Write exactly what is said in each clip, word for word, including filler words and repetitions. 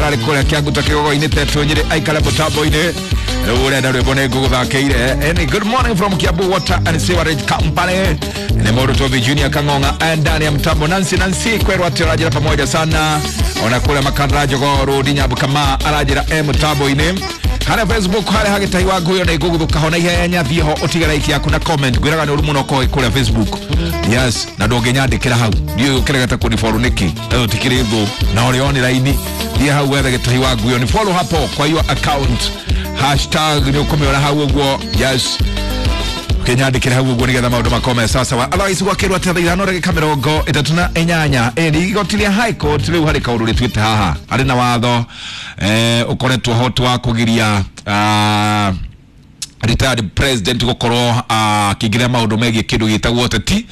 Ararĩ kũrĩa Kĩanguta kĩgogo-inĩ Tetũ Nyĩrĩ aikare mũtambo-inĩ. Rĩu ũrenda rwĩmbo nĩ ngũgũthakĩire. Any good morning from Kiambu Water and Sewerage Company. Nĩ mũndũ Tobi Junior Kang'ong'a ndani ya mtambo. Nancy Nancy kwerwo atĩ ũranjĩra pamoja sana. Ona kũrĩa Makandara Jogoo Road Nyambu Kama aranjĩra e mũtambo-inĩ. Harĩa Facebook harĩa hagĩtahi wa nguyo nĩ ngũgũthũka ho na ihenya, thiĩ ho ũtige like yaku na comment. Ngwĩraga nĩ ũru mũno ũkorwo kũrĩa Facebook. Yes, na ndũngĩnyandĩkĩra hau. Ndiũĩ ũkĩregete kũnifollow nĩkĩ? Ĩyo tikĩrĩ thũ na ũrĩ online. Thiĩ hau wethe gĩtahi wa nguyo, ni follow hapo kwa hiyo account. Hashtag nĩ ũkũmĩona hau ũguo. Yes, ũkĩnyandĩkĩra hau ũguo nĩgetha maũndũ makome sasa wa otherwise gwakĩrwo atĩ thaa ithano ndagĩka mĩrongo ĩtatũ na inyanya. Ĩni igoti rĩa High Court rĩu harĩ kaũndũ rĩtuĩte haha harĩ na watho eh, ũkoretwo hot wa kũgiria ah, retired president gukorwo akĩingĩrĩra maũndũ megiĩ kĩndũ gĩtagwo ũteti.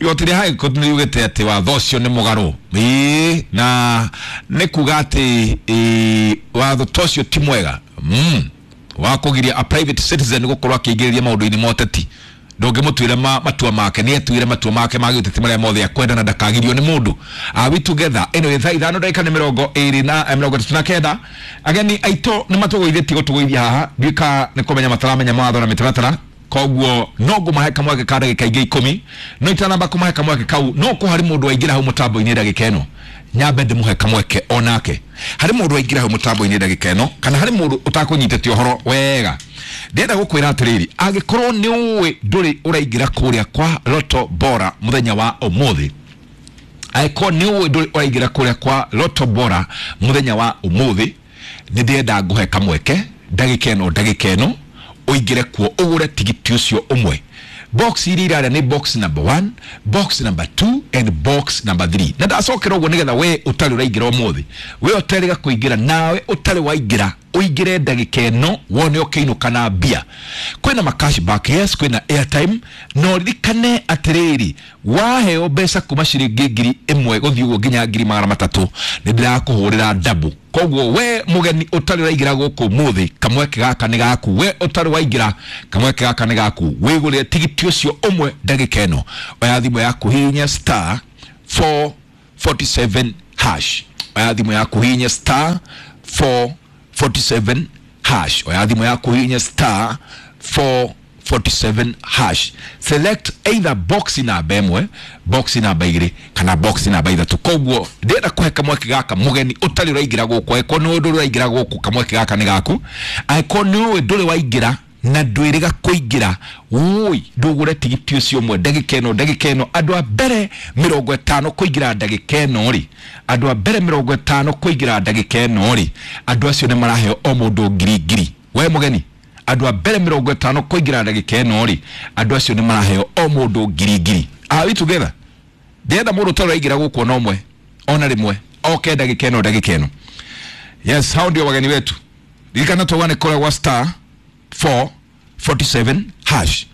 Igoti rĩa High Court nĩ riugĩte atĩ watho ũcio nĩ mũgarũ. Ĩĩ, na nĩ kuga atĩ ĩ, watho ta ũcio ti mwega mm. wa kũgiria a private citizen gũkorwo akĩingĩrĩria maũndũ-inĩ ma ũteti. Ndũngĩmũtuĩra ma, matua make, nĩ etuĩre matua make ma gĩũteti marĩa mothe akwenda na ndakagirio nĩ mũndũ. Are we together? Ĩno ĩ thaa ithano ndagĩka nĩ mĩrongo ĩrĩ na eh, mĩrongo ĩtatũ na kenda. Ageni aitũ nĩ matũgũithĩtie gũtũgũithia haha, ndiũĩ kana nĩ kũmenya mataramenya mawatho na mĩtaratara, koguo no ngũmahe kamweke ka ndagĩka ingĩ ikũmi. No itanamba kũmahe kamweke kau, no kũ harĩ mũndũ waingĩra hau mũtambo-inĩ ndagĩka ĩno, nyambe ndĩmũhe kamweke onake. Harĩ mũndũ waingĩra hau mũtambo-inĩ ndagĩka ĩno, kana harĩ mũndũ ũtakũnyitĩte ũhoro wega, ndĩrenda gũkwĩra atĩrĩrĩ, angĩkorwo nĩ ũĩ ndũrĩ ũraingĩra kũrĩa kwa Lotto Bora mũthenya wa ũmũthĩ, angĩkorwo nĩ ũĩ ndũrĩ ũraingĩra kũrĩa kwa Lotto Bora mũthenya wa ũmũthĩ, nĩ ndĩrenda ngũhe kamweke ndagĩka ĩno ndagĩka ĩno ũingĩre kuo ũgũre tigiti ũcio ũmwe. Box iria irarĩa nĩ box number one, box number two and box number three. Na ndacokera ũguo nĩgetha we ũtarĩ ũraingĩra ũmũthĩ, we ũterĩga kũingĩra, nawe ũtarĩ waingĩra ũingĩre ndagĩka ĩno wone ũkĩinũka na mbia. Kwĩna ma cashback, yes, kwĩna airtime, no ririkane atĩrĩrĩ, waheo mbeca kuma ciringi ngiri ĩmwe gũthiĩ ũguo nginya ngiri magana matatũ, nĩ ndĩrakũhũrĩra ndabu. Koguo we mũgeni ũtarĩ ũraingĩra gũkũ ũmũthĩ, kamweke gaka nĩ gaku. We ũtarĩ waingĩra, kamweke gaka nĩ gaku. Wĩgũrĩre tigiti ũcio ũmwe ndagĩka ĩno. Oya thimũ yaku, hihinya star four forty-seven hash. Oya thimũ yaku, hihinya star four forty-seven hash. Oya thimũ yaku, hihinya star four forty-seven hash. Select either box namba ĩmwe, box namba igĩrĩ kana box namba ithatũ. Koguo ndĩrenda kũhe kamweke gaka mũgeni ũtarĩ ũraingĩra gũkũ. Angĩkorwo nĩ ũĩ ndũrĩ ũraingĩra gũkũ, kamweke gaka nĩ gaku. Angĩkorwo nĩ ũĩ ndũrĩ waingĩra na ndwĩrĩga kũingĩra, wũi ndũgũre tigiti ũcio ũmwe ndagĩka ĩno ndagĩka ĩno. Andũ a mbere mĩrongo ĩtano kũingĩra ndagĩka ĩno rĩ, andũ a mbere mĩrongo ĩtano kũingĩra ndagĩka ĩno rĩ, andũ acio nĩ maraheo o mũndũ ngiri ngiri. We mũgeni, andũ a mbere mĩrongo ĩtano kũingĩra ndagĩka ĩno rĩ, andũ acio nĩ maraheo o mũndũ ngiri ngiri. Are we together? Ndĩrenda mũndũ ũtarĩ ũraingĩra gũkũ ona ũmwe ona rĩmwe oke ndagĩka ĩno ndagĩka ĩno. Yes, hao ndio wageni wetu. Ririkana twauga nĩ kũrĩa gwa star four forty-seven hash.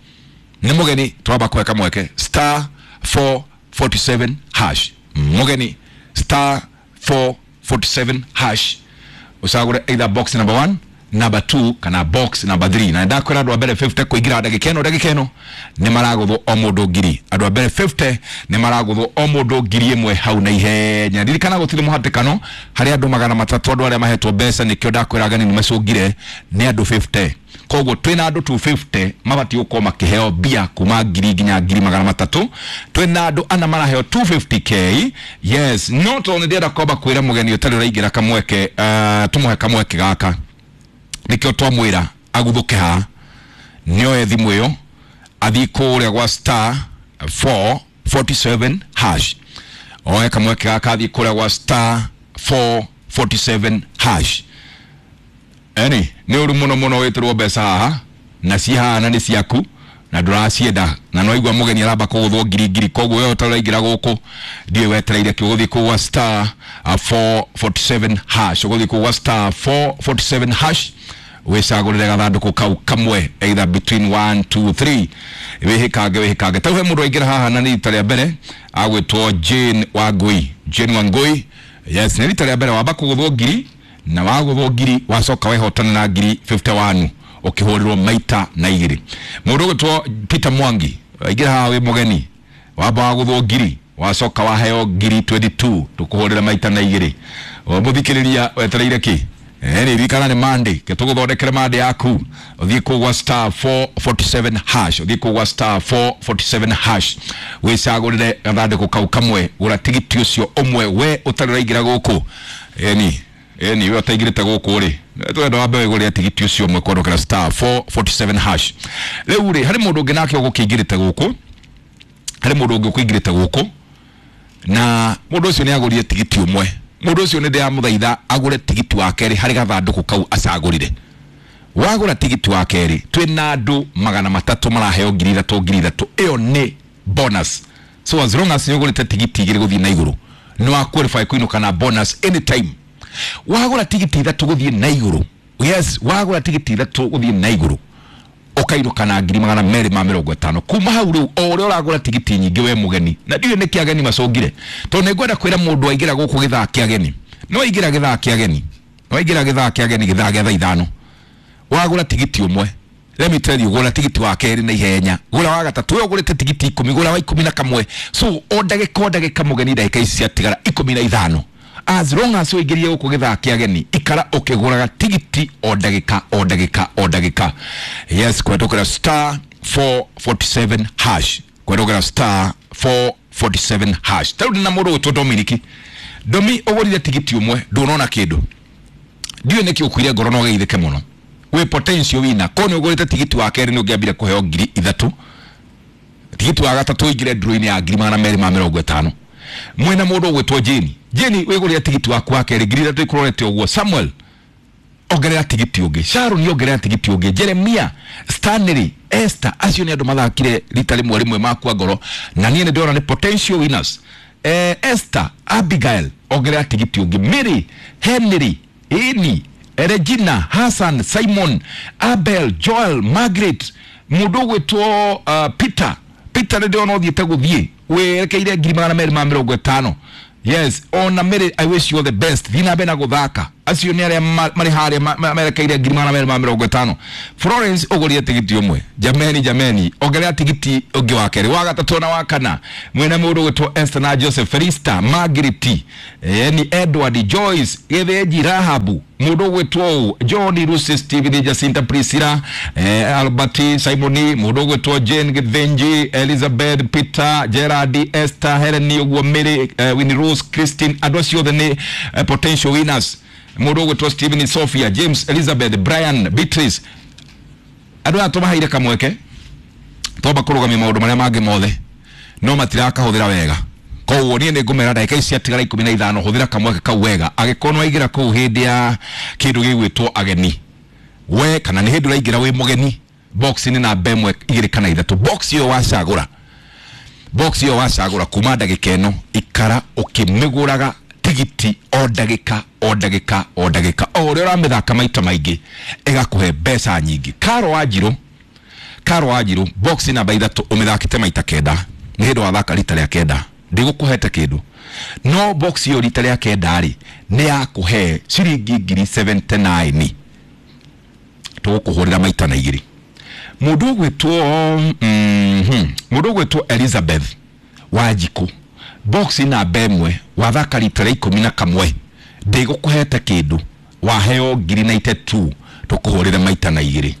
Nĩ mũgeni twamba kũhe kamweke star four forty-seven hash. Mũgeni star four forty-seven hash, ũcagũre either box number one, number two kana box number three. Na ndakwĩra andũ a mbere fifty kũingĩra ndagĩka ĩno ndagĩka ĩno nĩ maragũthwo o mũndũ ngiri. Andũ a mbere fifty nĩ maragũthwo o mũndũ ngiri ĩmwe hau na ihenya. Ririkana gũtirĩ mũhatĩkano harĩ andũ magana matatũ, andũ arĩa mahetwo mbeca, nĩkĩo ndakwĩra ageni nĩ macũngire nĩ andũ fifty. Koguo twĩna andũ two fifty mabatiĩ gũkorwo makĩheo mbia kuma ngiri nginya ngiri magana matatũ. Twĩna andũ ana maraheo two fifty k. Yes, no tondũ nĩ ndĩrenda kwamba kwĩra mũgeni ũtarĩ ũraingĩra kamweke, uh, tũmũhe kamweke gaka, nĩkĩo twamwĩra aguthũke haha, nĩoe thimũ ĩyo athiĩ kũrĩa gwa star four forty-seven hash. Oe kamweke gaka athiĩ kũrĩa gwa star four forty-seven hash. Eni nĩ ũru mũno mũno wĩtĩrwo mbeca haha na ci haha na nĩ ciaku na ndũracienda, na no igua mũgeni aramba kũgũthwo ngiri ngiri. Koguo we ũtarĩ ũraingĩra gũkũ ndiũĩ wetereire kĩ, ũgũthiĩ kũu gwa star four forty-seven hash, ũgũthiĩ kũu gwa star four forty-seven hash wĩcagũrĩre gathandũkũ kau kamwe either between one, two, three. Wĩhĩkange, wĩhĩkange. Tau he mũndũ aingĩra haha na nĩ rita rĩa mbere agwĩtwo Jane Wangui. Jane Wangui, yes, nĩ rita rĩa mbere wamba kũgũthwo ngiri, na wagũthwo ngiri wacoka wehotana na ngiri fifty-one ũkĩhũrĩrwo maita na igĩrĩ. Mũndũ ũgwĩtwo Peter Mwangi aingĩra haha wĩ mũgeni, wamba wagũthwo ngiri Wacoka waheo ngiri mĩrongo ĩĩrĩ na igĩrĩ tukuhurira maita na igĩrĩ. Mũthikĩrĩria wetereire kĩ? Eh, ririkana nĩ Monday, ke tũgũthondekere Monday yaku. Ũthiĩ kũu gwa star four forty-seven hash, ũthiĩ kũu gwa star four forty-seven hash, wĩcagũrĩre gathandũkũ kau kamwe, gũra tigiti ũcio ũmwe we ũtarĩ ũraingĩra gũkũ. Ĩni ĩni we ũtaingĩrĩte gũkũ rĩ, twenda wambe wĩgũrĩre tigiti ũcio ũmwe kwandũkĩra star four forty-seven hash. Rĩu rĩ, harĩ mũndũ ũngĩ nake ũgũkĩingĩrĩte gũkũ, harĩ mũndũ ũngĩ ũkũingĩrĩte gũkũ, na mũndũ ũcio nĩ agũrire tigiti ũmwe. Mũndũ ũcio nĩ ndĩramũthaitha agũre tigiti wa kerĩ harĩ gathandũkũ kau acagũrire. Wagũra tigiti wa kerĩ, twĩna andũ magana matatũ maraheo ngiri ithatũ ngiri ithatũ. Ĩyo nĩ bonus. So as long as nĩ ũgũrĩte tigiti igĩrĩ gũthiĩ na igũrũ, nĩ wa qualify kũinũka na bonus anytime. Wagũra tigiti ithatũ gũthiĩ na igũrũ, yes, wagũra tigiti ithatũ gũthiĩ na igũrũ, ũkainũka na ngiri magana merĩ ma mĩrongo ĩtano. Kuma hau rĩu, o ũrĩa ũragũra tigiti nyingĩ we mũgeni, na ndiũĩ nĩkĩ ageni macũngire, tondũ nĩngwenda kwĩra mũndũ aingĩra gũkũ gĩthaa kĩa ageni, no aingĩra gĩthaa kĩa ageni, no aingĩra gĩthaa kĩa ageni gĩthaa gĩa thaa ithano, wagũra tigiti ũmwe, let me tell you, gũra tigiti wa kerĩ na ihenya, gũra wa gatatũ, we ũgũrĩte tigiti ikũmi, gũra wa ikũmi na kamwe. So o ndagĩka o ndagĩka mũgeni ndagĩka ici ciatigara ikũmi na ithano, as long as ũingĩrie gũkũ gĩthaa kĩa ageni, ikara ũkĩgũraga tigiti o ndagĩka o ndagĩka o ndagĩka. Yes, kũhetũkĩra star four forty-seven hash, kũhetũkĩra star four forty-seven hash. Ta rĩu ndĩna mũndũ ũgwĩtwo Dominic. Domi, ũgũrire tigiti ũmwe, ndũnona kĩndũ, ndiũĩ nĩkĩ ũkuire ngoro na ũgeithĩke mũno. Wĩ potential winner. Korwo nĩ ũgũrĩte tigiti wa kerĩ nĩ ũngĩambire kũheo ngiri ithatũ, tigiti wa gatatũ ũingĩre draw-inĩ ya ngiri magana merĩ ma mĩrongo ĩtano. Mwena mũndũ ũgwĩtwo Jane, Jane wĩgũrĩre tigiti waku wa kerĩ ngiri ithatũ ikũrorete ũguo. Samuel ongerera tigiti ũngĩ, Sharon ongerera tigiti ũngĩ, Jeremia, Stanley, Esther, acio nĩ andũ mathakire rita rĩmwe rĩmwe makua ngoro, na niĩ nĩ ndĩrona nĩ potential winners. Eh, Esther, Abigail ongerera tigiti ũngĩ, Mary, Henry, Eni, Regina, Hassan, Simon, Abel, Joel, Margaret, mũndũ ũgwĩtwo uh, Peter, Peter nĩ ndĩrona ũthiĩte gũthiĩ werekeire ngiri magana merĩ ma mĩrongo ĩtano. Yes, ona Mary, I wish you all the best. Thiĩ na mbere na gũthaka. Acio nĩ arĩa marĩ harĩa merekeire ngiri magana merĩ ma mĩrongo ĩtano. Florence ũgũrire tigiti ũmwe. Jameni, jameni, ongerera tigiti ũngĩ wa kerĩ, wa gatatũ na wa kana. Mwena mũndũ ũgwĩtwo Esther na Joseph, Felista, Margaret, ni Edward, Joyce, Gĩthĩnji, Rahabu, mũndũ ũgwĩtwo John, Lucy, Stephen, Jacinta, Priscilla, eh, Albert, Simon, mũndũ ũgwĩtwo Jane, Gĩthĩnji, Elizabeth, Peter, Gerard, Esther, Helen, ũguo Mary, eh, Winnie Rose, Christine, andũ acio othe nĩ eh, potential winners. Mũndũ ũgwĩtwo Stephen, Sophia, James, Elizabeth, Brian, Beatrice, andũ aya tũmaheire kamweke twamba kũrũgamia maũndũ marĩa mangĩ mothe, no matirakahũthĩra wega. Koguo niĩ nĩ ngũmera ndagĩka ici ciatigara ikũmi na ithano, hũthĩra kamweke kau wega. Angĩkorwo nĩ waingĩra kũu hĩndĩ ya kĩndũ gĩgwĩtwo ageni, we kana nĩ hĩndĩ ũraingĩra wĩ mũgeni, box nĩ namba ĩmwe igĩrĩ kana ithatũ. Box ĩyo wacagũra, box ĩyo wacagũra kuma ndagĩka ĩno, ikara ũkĩmĩgũraga tigiti o ndagĩka o ndagĩka o ndagĩka. O ũrĩa ũramĩthaka maita maingĩ ĩgakũhe mbeca nyingĩ. Karo Wanjirũ, Karo Wanjirũ, box namba ithatũ ũmĩthakĩte maita kenda, nĩ hĩndĩ wathaka rita rĩa kenda, ndigũkũhete kĩndũ, no box ĩyo rita rĩa kenda rĩ nĩ yakũhe ciringi ngiri seventy-nine, tũgũkũhũrĩra maita na igĩrĩ. Mũndũ ũgwĩtwo mm, mũndũ ũgwĩtwo Elizabeth Wanjikũ, box namba ĩmwe wathaka rita rĩa ikũmi na kamwe, ndĩgũkũhete kĩndũ, waheo ngiri ninety-two, tũkũhũrĩre maita na igĩrĩ.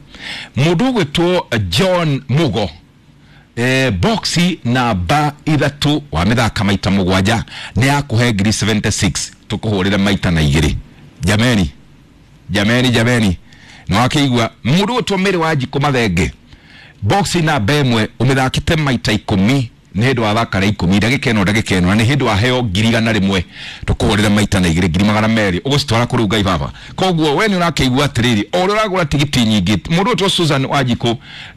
Mũndũ ũgwĩtwo John Mugo, eh, box namba ithatũ wamĩthaka maita mũgwanja, nĩ yakũhe ngiri seventy-six, tũkũhũrĩre maita na igĩrĩ. Jameni, jameni, jameni, nĩ wakĩigua. Mũndũ ũgwĩtwo Mary Wanjikũ Mathenge, box namba ĩmwe ũmĩthakĩte maita ikũmi, nĩ hĩndĩ wathaka rĩa ikũmi, ndagĩka ĩno ndagĩka ĩno, na nĩ hĩndĩ waheo ngiri igana rĩmwe, tũkũhũrĩre maita na igĩrĩ, ngiri magana merĩ, ũgũcitwara kũrĩ Ngai baba. Koguo we nĩ ũrakĩigua atĩrĩrĩ, o ũrĩa ũragũra tigiti nyingĩ, mũndũ ũgwĩtwo Susan Wanjikũ,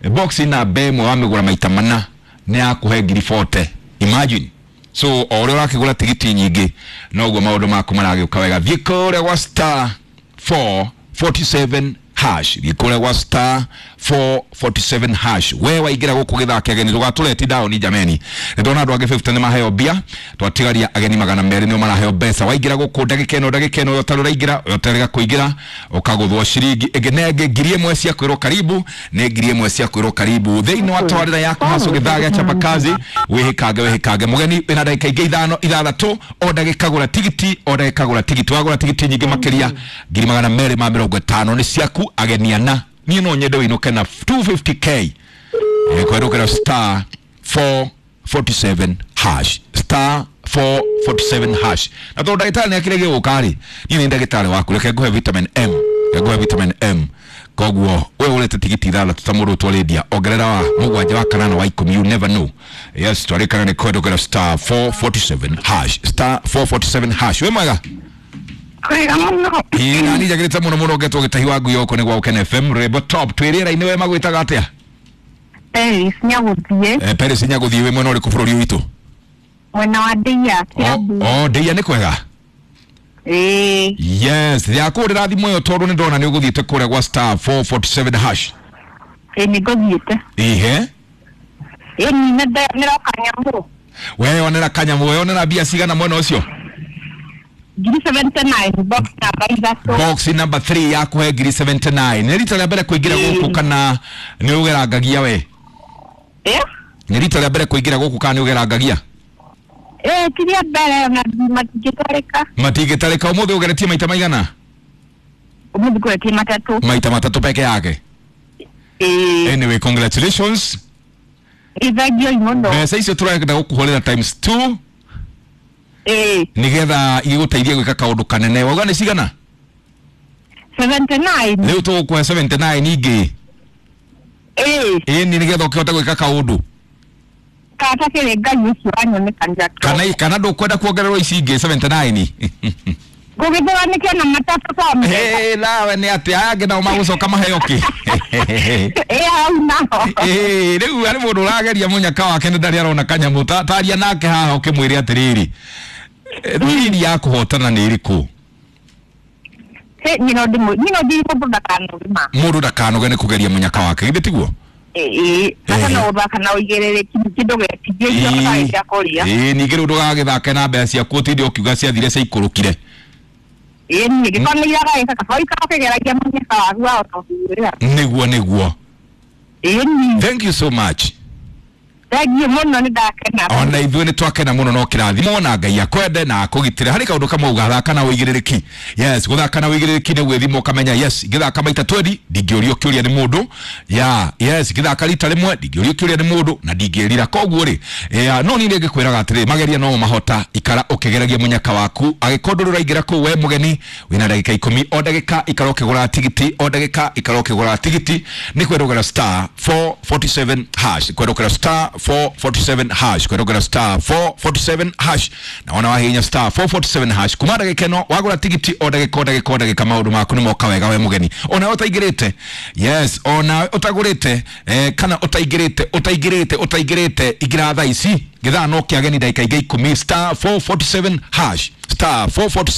box namba ĩmwe wamĩgũra maita mana, nĩ yakũhe ngiri forty. Imagine. So o ũrĩa ũrakĩgũra tigiti nyingĩ, noguo maũndũ maku maragĩũka wega. Thiĩ kũrĩa gwa star four forty-seven hash. Thiĩ kũrĩa gwa star four forty-seven hash. We waingĩra gũkũ gĩthake ageni ndũgatũreti down jameni. Nĩndona andũ angĩ fifty nĩ maheo mbia, twatigaria ageni magana merĩ nĩo maraheo mbeca. Waingĩra gũkũ ndagĩka ĩno ndagĩka ĩno yote ũraingĩra yoterega kũingĩra ũkagũthwo ciringi ĩngĩ na ĩngĩ ngiri ĩmwe cia kwĩrwo karibu nĩ ngiri ĩmwe cia kwĩrwo karibu thĩinĩ wa tabarĩra yaku hacu gĩthaa gĩa chapa kazi. Wĩhĩkange wĩhĩkange mũgeni wĩna ndagĩka ingĩ ithano ithathatũ o ndagĩka gũra tigiti o ndagĩka gũra tigiti wagũra tigiti nyingĩ makĩria ngiri magana merĩ ma mĩrongo ĩtano nĩ ciaku ageni ana. Niĩ no nyende wĩinũke na two fifty k kwerũkĩra star four forty-seven hash star four forty-seven hash. Na tondũ ndagĩtarĩ nĩ akĩrĩ gũka rĩ, niĩ nĩ ndagĩtarĩ waku, reke ngũhe vitamin M, reke ngũhe vitamin M. Koguo we ũrĩte tigiti ithathatũ ta mũndũ ũtwarĩndia ongerera wa mũgwanja wa kanana wa ikũmi, you never know. Yes, twarĩkana nĩ kwerũkĩra star four forty-seven hash star four forty-seven hash. Wĩ mwega? Kwega mũno. Ĩĩ na niĩ njagĩrĩte mũno mũno ngetwo gĩtahi wa ngui yoko nĩ gwa Ũkene F M Rwĩmbo Top. Twĩ rĩera-inĩ we magwĩtaga atĩa? Peris Nyagũthiĩ. Eh, Peris Nyagũthiĩ wĩ mwena ũrĩkũ bũrũri witũ? Mwena wa Ndeia, Kiambu. Oh, Ndeia nĩ kwega? Ĩĩ. Yes, yakũhũrĩra thimũ ĩyo tondũ nĩ ndona nĩ ũgũthiĩte kũrĩa gwa star four forty-seven hash. Ĩĩ nĩ ngũthiĩte. Ihe? Ĩĩ nĩ ndĩroka nyamũ. Weyonera kanyamũ, weyonera mbia cigana mwena ũcio? Ngiri seventy-nine, box number ithatũ. Box number three yakuhe ngiri seventy-nine. Nĩ rita rĩa mbere kũingĩra gũkũ kana nĩ ũgerangagia we? Ĩ? Nĩ rita rĩa mbere kũingĩra gũkũ kana nĩ ũgerangagia? Ĩ, ti rĩa mbere ona matingĩtarĩka. Matingĩtarĩka. Ũmũthĩ ũgeretie maita maigana? Ũmũthĩ ngũgeretie matatũ. Maita matatũ peke yake? Ĩ. Anyway, congratulations. Ĩ, thengiũ mũno. Mbeca icio tũrenda gũkũhũrĩra times two. Ĩ. Nĩgetha igũteithie gwĩka kaũndũ kanene. Wauga nĩ cigana? seventy-nine. Rĩu tũgũkũhe seventy-nine ingĩ. Ĩ. Ĩ, nĩgetha ũkĩhote gwĩka kaũndũ. Kata kĩrĩ Ngai ũcio wanyonekanĩra. Kana kana ndũkwenda kuongererwo ici ingĩ seventy-nine? Ngũgĩthũra nĩkĩo na matatũ kwa mũthenya. Ĩ, nawe nĩ atĩa aya angĩ nao magũcoka maheo kĩ? Ĩ, hau naho. Ĩ, rĩu harĩ mũndũ ũrageria mũnyaka wake nĩ ndarĩ arona kanyamũ. Taria nake haha ũkĩmwĩre atĩrĩrĩ, thiri ya kũhotana nĩ ĩrĩkũ? Niĩ no ndĩmũ- niĩ no ndigire mũndũ ndakanoge ma. Mũndũ ndakanoge nĩ kũgeria mũnyaka wake, githĩ tiguo? Ĩ, bata no gũthaka na ũigĩrĩrĩki kĩndũ gĩtingĩ gĩa kũrĩa. Ĩ, ningĩ rĩu ndũgagĩthake na mbeca ciaku ũtinde ũkiuga ciathire ciaikũrũkire. Ĩ, niĩ gĩkorwo nĩ iragaĩka kaba ũikara ũkĩgeragia mũnyaka waku wahota kũgũrĩra. Nĩguo, nĩguo. Ĩ, niĩ. Thank you so much. Thengiũ mũno nĩ ndakena. Ona ithuĩ nĩ twakena mũno no kĩrathimo na Ngai akwende na akũgitĩre. Harĩ kaũndũ kamwe ũgathaka na ũigĩrĩrĩki. Yes, gũthaka na ũigĩrĩrĩki nĩ gwĩthima ũkamenya yes, ngĩthaka maita twenty ndingĩũrio kĩũria nĩ mũndũ. Yeah, yes, ngĩthaka rita rĩmwe ndingĩũrio kĩũria nĩ mũndũ na ndingĩrira. Koguo rĩ, yeah, no niĩ nĩngĩkwĩraga atĩrĩ, mageria no mahota, ikara ũkĩgeragia mũnyaka waku. Angĩkorwo ndũrĩ ũraingĩra kũu we mũgeni, wĩna ndagĩka ikũmi, o ndagĩka ikara ũkĩgũra tigiti, o ndagĩka ikara ũkĩgũra tigiti, nĩ kwerũgera star four forty-seven hash, kwerũgera star four forty-seven hash, kwerũgera star four forty-seven hash. Na wona wahihinya star four forty-seven hash kuma ndagĩka ĩno wagũra tigiti o ndagĩka o ndagĩka o ndagĩka maũndũ maku nĩ moka wega we mũgeni. Ona ũtaingĩrĩte, yes, ona ũtagũrĩte, eh, kana ũtaingĩrĩte, ũtaingĩrĩte, ũtaingĩrĩte, ingĩra thaa ici gĩthaa no kĩageni ndagĩka ingĩ ikũmi, star four forty-seven hash, star four forty-seven